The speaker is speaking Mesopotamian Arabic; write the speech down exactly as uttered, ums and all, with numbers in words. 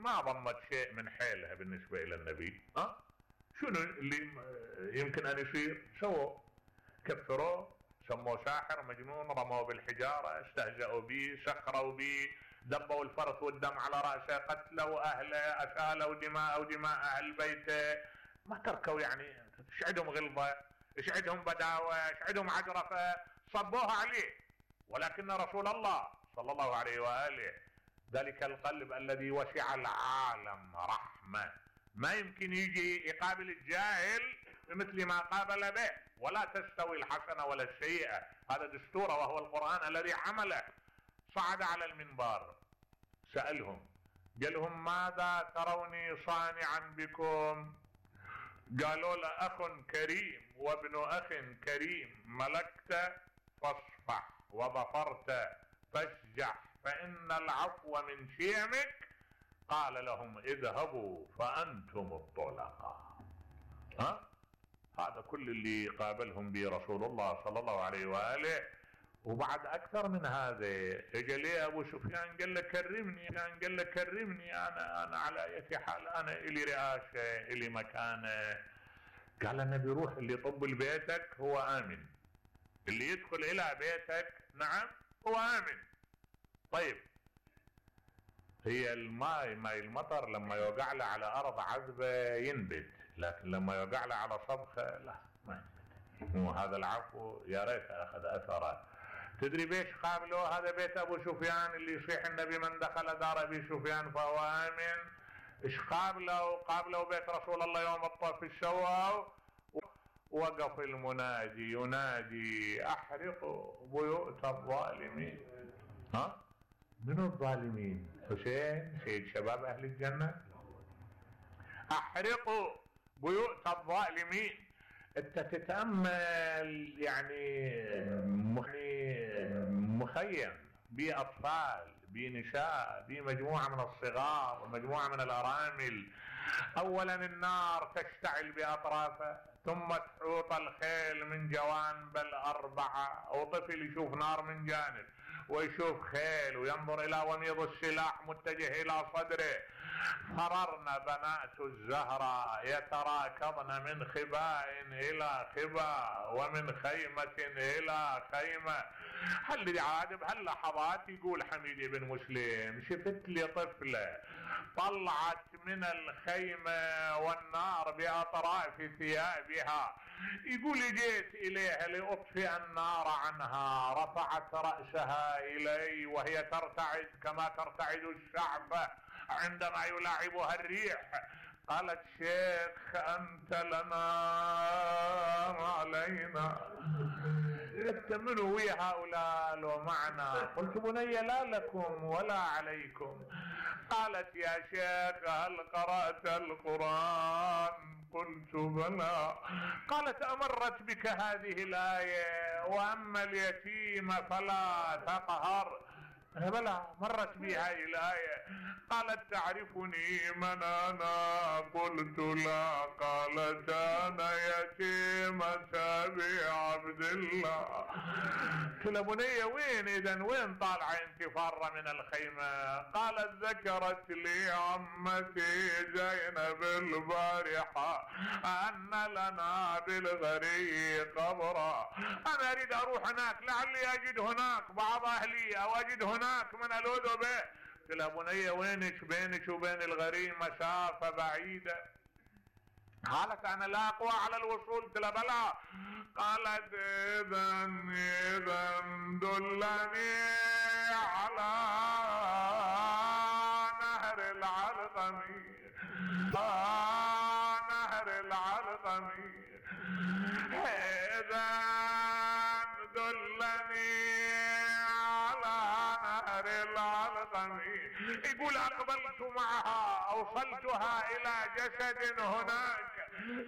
ما ضمت شيء من حيلها بالنسبة الى النبي. ها شنو اللي يمكن ان يصير؟ سووا كفروه، سموه ساحر مجنون، رموه بالحجارة، استهزأوا به، سخروا به، دبوا الفرث والدم على رأسه، قتلوا اهله، اسالوا دماء ودماء اهل بيته، ما تركوا يعني، ايش عندهم غلظة، ايش عندهم بداوة، ايش عندهم عجرفة، صبوها عليه. ولكن رسول الله صلى الله عليه وآله ذلك القلب الذي وسع العالم رحمة، ما يمكن يجي يقابل الجاهل مثل ما قابل به. ولا تستوي الحسنة ولا السيئة، هذا دستوره وهو القرآن الذي عمله. صعد على المنبر سألهم، قال لهم ماذا تروني صانعا بكم؟ قالوا له اخ كريم وابن اخ كريم، ملكت فاصفح وظفرت فاسجح فان العفو من شيمك. قال لهم اذهبوا فانتم الطلقاء. ها هذا كل اللي قابلهم به رسول الله صلى الله عليه وآله. وبعد اكثر من هذا اجى لي ابو سفيان قال له كرمني، كان قال له كرمني، انا انا على اي حال، انا الي رئاسه الي مكانه. قال النبي روح، اللي يطب لبيتك هو امن، اللي يدخل الى بيتك نعم هو امن. طيب هي الماء ماء المطر لما يوقع له على ارض عذبه ينبت، لكن لما يوقع له على صبخه لا ما ينبت. وهذا العفو يا ريت اخذ اثره. تدري بيش قابلوا هذا بيت ابو سفيان اللي يصيح النبي من دخل دار ابي سفيان فهو امن؟ ايش قابلوا؟ قابلوا بيت رسول الله يوم الطف الشوا، وقف المنادي ينادي احرقوا بيوت الظالمين. ها منو الظالمين؟ حسين سيد شباب اهل الجنة. احرقوا بيوت الظالمين. انت تتأمل يعني مخيم باطفال بنساء بمجموعة من الصغار ومجموعة من الارامل. اولا النار تشتعل باطرافه، ثم تحوط الخيل من جوانب الاربعة، وطفل يشوف نار من جانب ويشوف خيل وينظر الى وميض السلاح متجه الى صدره. فررن بنات الزهراء يتراكضن من خباء الى خباء ومن خيمة الى خيمة. هل عادب هل لحظات يقول حميد بن مسلم شفت لي طفلة طلعت من الخيمة والنار باطراف ثيابها، يقول جيت اليها لاطفئ النار عنها، رفعت رأسها الي وهي ترتعد كما ترتعد الشعبة عندما يلاعبها الريح. قالت شيخ انت لنا علينا، انت منو ويا هؤلاء لو معنا؟ قلت بني لا لكم ولا عليكم. قالت يا شيخ هل قرأت القرآن؟ قلت بلى. قالت امرت بك هذه الآية واما اليتيم فلا تقهر؟ بلى مرت بي هذه الآية. قالت تعرفني من انا؟ قلت لا. قالت انا يتيمة ابي عبد الله. قلت له بنية وين اذا وين طالعة انت فارة من الخيمة؟ قالت ذكرت لي عمتي زينب البارحة ان لنا بالغري قبرا، انا اريد اروح هناك لعلي اجد هناك بعض اهلي او اجد هناك من الوذ به. قلت لها بنية وينك؟ بينك وبين الغريم مسافة بعيدة. قالت انا لا اقوى على الوصول. قلت لها بلى. قالت اذا اذا دلني على نهر العلقمي، نهر العلقمي، اذا دلني على نهر العلقمي. يقول اقبلت معها اوصلتها الى جسد هناك